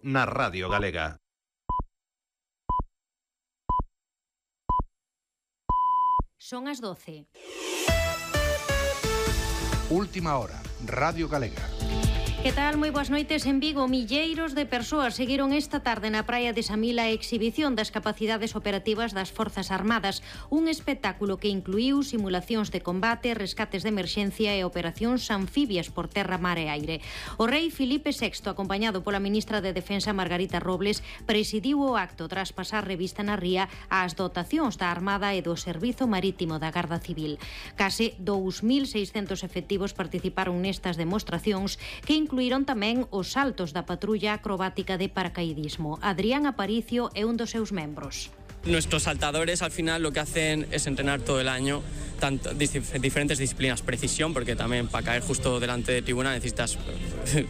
na Radio Galega. Son as 12. Última hora, Radio Galega. Que tal? Moi boas noites. En Vigo, milleiros de persoas seguiron esta tarde na praia de Samil a exhibición das capacidades operativas das Forzas Armadas, un espectáculo que incluíu simulacións de combate, rescates de emerxencia e operacións anfibias por terra, mar e aire. O rei Filipe VI, acompañado pola ministra de Defensa Margarita Robles, presidiu o acto tras pasar revista na ría ás dotacións da Armada e do Servizo Marítimo da Garda Civil. Case 2.600 efectivos participaron nestas demostracións que incluíron tamén os saltos da patrulla acrobática de paracaidismo. Adrián Aparicio é un dos seus membros. Nuestros saltadores al final lo que hacen es entrenar todo el año diferentes disciplinas, precisión, porque también para caer justo delante de tribuna necesitas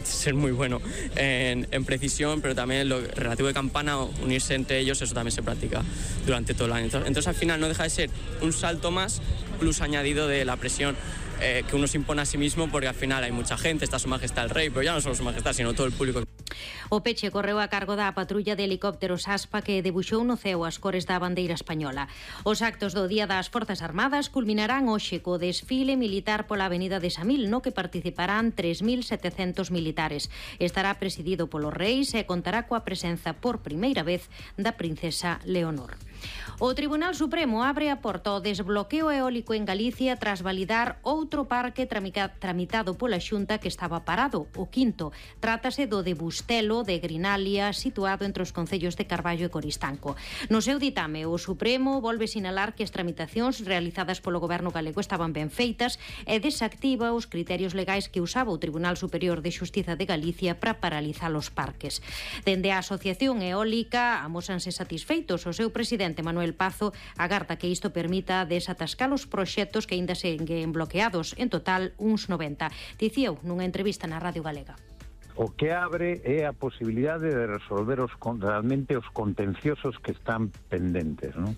ser muy bueno en precisión, pero también lo relativo de campana, unirse entre ellos, eso también se practica durante todo el año. Entonces al final no deja de ser un salto más, plus añadido de la presión que uno se impone a sí mismo, porque al final hay mucha gente, está su majestad el rey, pero ya no solo su majestad, sino todo el público. O peche correu a cargo da patrulla de helicópteros ASPA que debuxou no ceo as cores da bandeira española. Os actos do Día das Forzas Armadas culminarán hoxe co desfile militar pola avenida de Samil, no que participarán 3.700 militares. Estará presidido polos reis e contará coa presenza por primeira vez da princesa Leonor. O Tribunal Supremo abre a porta ao desbloqueo eólico en Galicia tras validar outro parque tramitado pola Xunta que estaba parado, o quinto. Trátase do de Bustelo de Grinalia, situado entre os concellos de Carballo e Coristanco. No seu ditame, o Supremo volve sinalar que as tramitacións realizadas polo Goberno galego estaban ben feitas e desactiva os criterios legais que usaba o Tribunal Superior de Xustiza de Galicia para paralizar os parques. Dende a Asociación Eólica amósanse satisfeitos. O seu presidente, Manuel Pazo, agarda que isto permita desatascar os proxectos que aínda seguen bloqueados, en total uns 90. Dicíou nunha entrevista na Radio Galega. O que abre é a posibilidade de resolver realmente os contenciosos que están pendentes, non?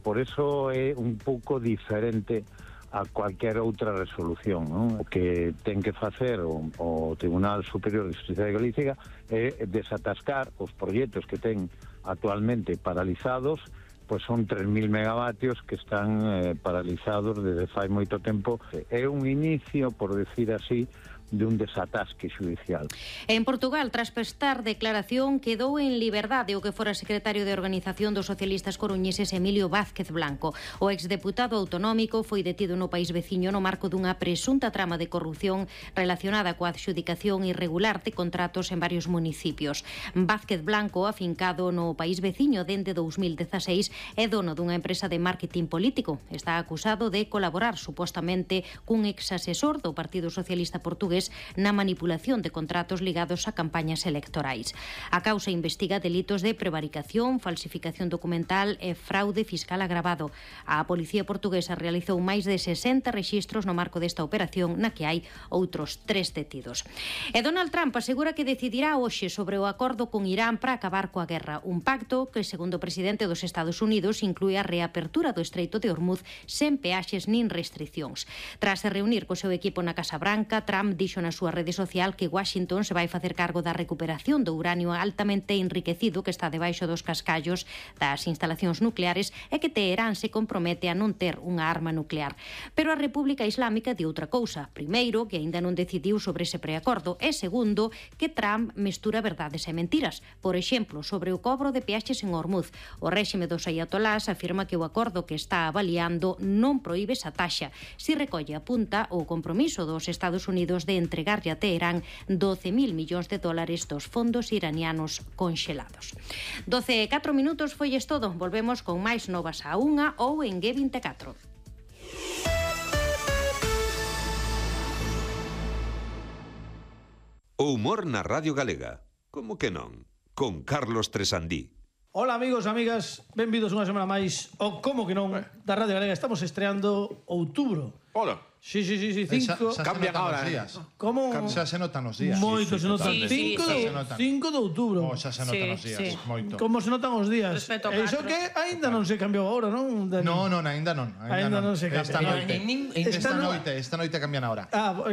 Por eso é un pouco diferente a cualquier outra resolución, non? O que ten que facer o Tribunal Superior de Xustiza de Galicia é desatascar os proxectos que ten actualmente paralizados, pois son 3.000 megavatios que están paralizados desde fai moito tempo. É un inicio, por decir así, de un desatasque xudicial. En Portugal, tras prestar declaración, quedou en liberdade o que fora secretario de Organización dos Socialistas Coruñeses Emilio Vázquez Blanco. O exdeputado autonómico foi detido no país veciño no marco dunha presunta trama de corrupción relacionada coa adxudicación irregular de contratos en varios municipios. Vázquez Blanco, afincado no país veciño dende 2016, é dono dunha empresa de marketing político. Está acusado de colaborar supostamente cun exasesor do Partido Socialista Portugués na manipulación de contratos ligados a campañas electorais. A causa investiga delitos de prevaricación, falsificación documental e fraude fiscal agravado. A Policía Portuguesa realizou máis de 60 rexistros no marco desta operación, na que hai outros 3 detidos. E Donald Trump asegura que decidirá hoxe sobre o acordo con Irán para acabar coa guerra, un pacto que, segundo o presidente dos Estados Unidos, inclúe a reapertura do Estreito de Hormuz sen peaxes nin restriccións. Tras se reunir co seu equipo na Casa Branca, Trump dixo na súa rede social que Washington se vai facer cargo da recuperación do uranio altamente enriquecido que está debaixo dos cascallos das instalacións nucleares e que Teherán se compromete a non ter unha arma nuclear. Pero a República Islámica di outra cousa. Primeiro, que aínda non decidiu sobre ese preacordo e segundo, que Trump mestura verdades e mentiras. Por exemplo, sobre o cobro de peaxes en Hormuz. O réxime dos ayatolás afirma que o acordo que está avaliando non proíbe esa taxa. Si recolle apunta o compromiso dos Estados Unidos de entregarlle a Teherán 12.000 millóns de dólares dos fondos iranianos conxelados. 12:04 minutos foi todo. Volvemos con máis novas a 1 ou en G24. O humor na Radio Galega. Como que non? Con Carlos Tresandí. Hola amigos e amigas, benvidos unha semana máis ao Como que non da Radio Galega. Estamos estreando outubro. Hola. Sí, 5... Cambian ahora, Como? Xa se notan os días. Moito se notan. 5 de outubro. Xa se notan os días, moito. Como se notan os días. E iso que aínda non se cambiou agora, non? Non, aínda non. Aínda non se cambia. Esta noite cambian ahora.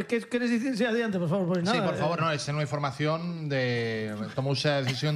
Que queres dicir? Sí, adiante, por favor. Sí, por favor, esa é unha información de... Tomouse a decisión